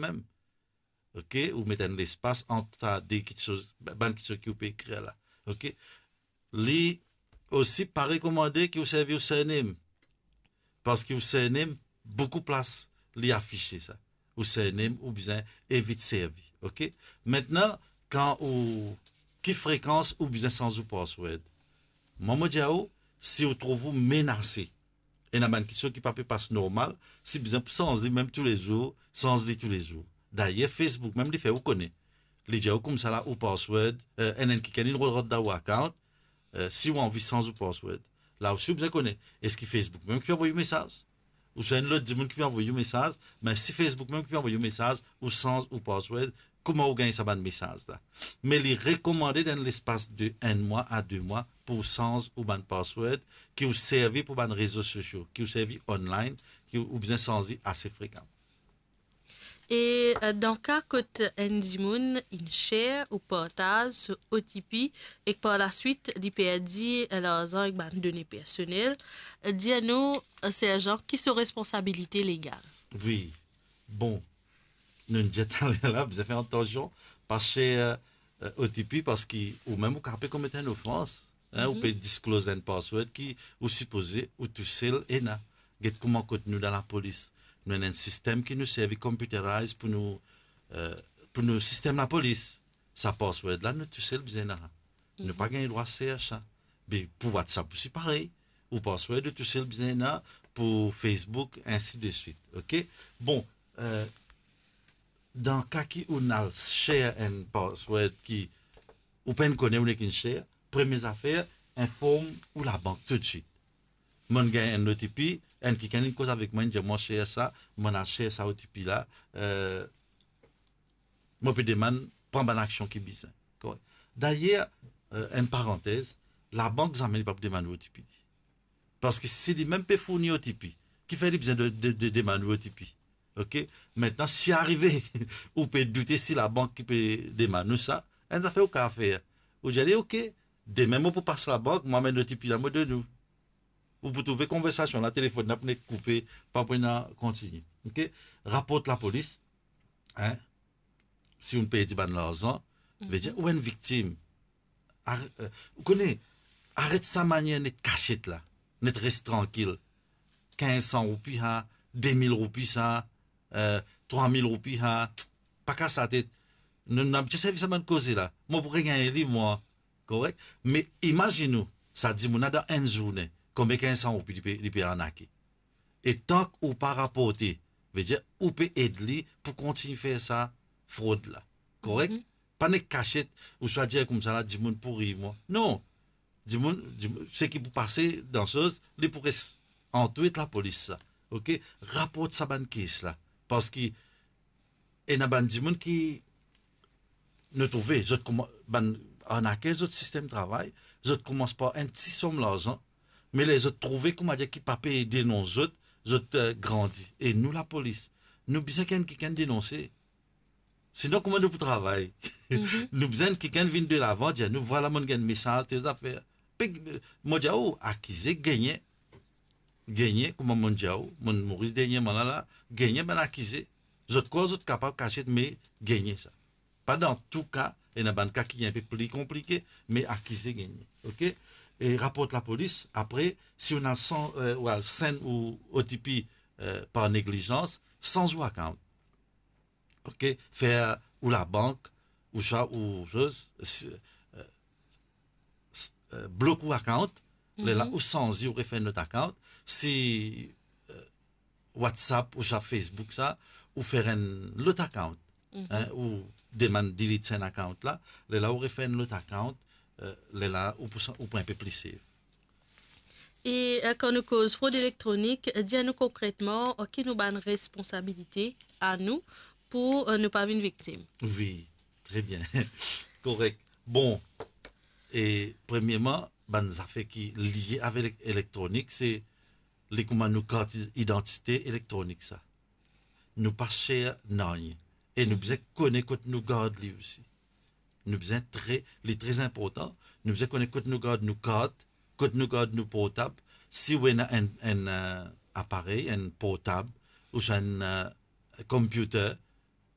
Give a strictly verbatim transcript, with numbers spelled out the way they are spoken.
mem. Ok, ou met enn lespas ant sa de kitsoz, bann kitsoz ki ou pe ekrir la. Ok, li osi pa rekomande ki ou servi ou surname, parski ou surname, boukou plas li afise sa. Ou surname, ou bizin evit servi, ok? Aster, kan ou, ki frekans ou bizin sanz ou password? Mwa, mo dir ou, si ou trouv ou menase, ena bann kitsoz ki pa pe pas normal, si bizin pou sanz li mem toulezour, sanz li toulezour. Dayer, Facebook mem li fer ou kone. Li dir ou koumsa la, ou password, eh, enn, enn kikenn inn rod dan ou account, eh, si ou anvi sanz ou password. La osi ou bizin kone, eski Facebook mem ki pe avoy ou mesaz? Ouswa enn lot dimoun ki pe avoy ou mesaz? Me si Facebook mem ki pe avoy ou mesaz, ou sanz ou password, kouma ou gagn sa bann mesaz la? Me li rekomande dan lespas de enn mwa a de mwa pou ou sanz ou bann password ki ou servi pou bann rezo sosio, ki ou servi online, ki ou, ou bizin sanz li ase frekan. E, eh, dan ka kot enn dimoun inn share ou partaz so O T P ek par laswit li perdi, eh, larzan ek bann done personel, eh, dir nou, eh, serjan, ki so responsabilite legal? Wi. Bon, nou dir taler la, bizin fer atansion, pa share, eh, O T P, parski ou mem ou kapav pe komet enn ofans, hein, ou pe disclose enn password ki ou sipoze ou tousel ena. Get kouma kot nou dan lapolis, nou ena enn sistem ki nou servi computerized pou nou, eh, pou nou sistem lapolis. Sa password la, nou tousel bizin ena. Nou pa gagn drwa share sa. Be pou WhatsApp osi parey. Ou password, ou tousel bizin ena, pou Facebook, ensi de swit. Ok? Bon, eh, dan ka ki ou'nn al share enn password ki ou pa'nn kone, ou nek inn share, premie zafer, inform ou labank toutswit. Mo'nn gagn enn O T P, enn kikenn inn koz avek mwa, inn dir mwa share sa, mo'nn al share sa O T P la, eh, mo pe demann pran bann aksion ki bizin. Korek. Dayer, eh, enn parantez, labank zame li pa pou demann ou O T P li. Parski si limem pe fourni O T P, kifer li bizin de, de, de demann ou O T P? Ok? Aster, si arive, ou pe doute si labank ki pe demann ou sa, enn zafer ou kapav fer. Ou dir li, ok, demin mo pou pas labank, mo amenn O T P la, mo donn ou. Ou pou trouve konversasion la, telefonn la pou nek koupe, pa pou ena kontinie. Ok? Raport lapolis, hein? Si ou perdi bann larzan, vedir ou enn viktim. Ar-, eh, ou kone, aret sa manier net kasiet la, net res trankil. Kinz san roupi sa, de mil roupi sa, eh, trwa mil roupi sa, pa kas latet. Nou, nou abitie servi sa bann koze la. Mo pou regagn li, mwa. Korek? Me imazinn ou, sa dimoun la dan enn zourne, konbien kinz san roupi li pe, li pe arnake? E tank ou pa raporte, vedir ou pe ed li pou kontign fer sa frod la. Korek? Pa nek kasiet, ouswa dir koumsa la, dimoun pou rir mwa. Non. Dimoun, dimoun, seki pou pase dan soz, li pou res ant ou ek lapolis sa. Ok? Raport sa bann kes la. Parski ena bann dimoun ki nou trouve, zot kouma-, bann arnaker, zot sistem travay, zot koumans par enn ti som larzan, me ler zot trouve, koumadir, ki pa pe denons zot, zot, eh, grandi. E nou lapolis, nou bizin ki enn kikenn denonse. Sinon, kouma nou pou travay? Nou bizin kikenn vinn delavan, dir nou, vwala, mo'nn gagn mesaz, tel zafer. Pe, mo dir ou, akize gagne. Gagne, kouma mo'nn dir ou, mo'nn Moris dernieman la, la, gagne bann akize. Zot krwar zot kapav kasiet, me gagne sa. Pa dan tou ka, ena bann ka ki enpe pli konplike, me akize gagne. Ok? E raport lapolis, apre, si ou al san-, eh, ou al send ou O T P, eh, par neglizans, sanz ou account. Ok? Fer ou labank, ouswa ou soz, si, eh, s-, eh, blok ou account, lerla ou sanz li, ou refer enn lot account. Si, eh, WhatsApp ouswa Facebook sa, ou fer enn lot account. Hein, ou demann delete sa enn account la, lerla ou refer enn lot account, eh, lerla ou pou sa-, ou pou enpe pli safe. E, eh, kan nou koz frod elektronik, eh, dir nou konkretman, eh, ki nou bann responsabilite anou pou, eh, nou pa vinn viktim? Wi, tre bien. Korek. Bon, e premierman, bann zafer ki lie avek elek-, elektronik, se li kouma nou kart idantite elektronik sa. Nou pa share nanye. E nou bizin kone kot nou gard li osi. Nou bizin tre, li tre inportan, nou bizin kone kot nou gard nou kart, kot nou gard nou portab. Si ou ena enn, enn, eh, aparey, enn portab, ouswa enn, eh, computer,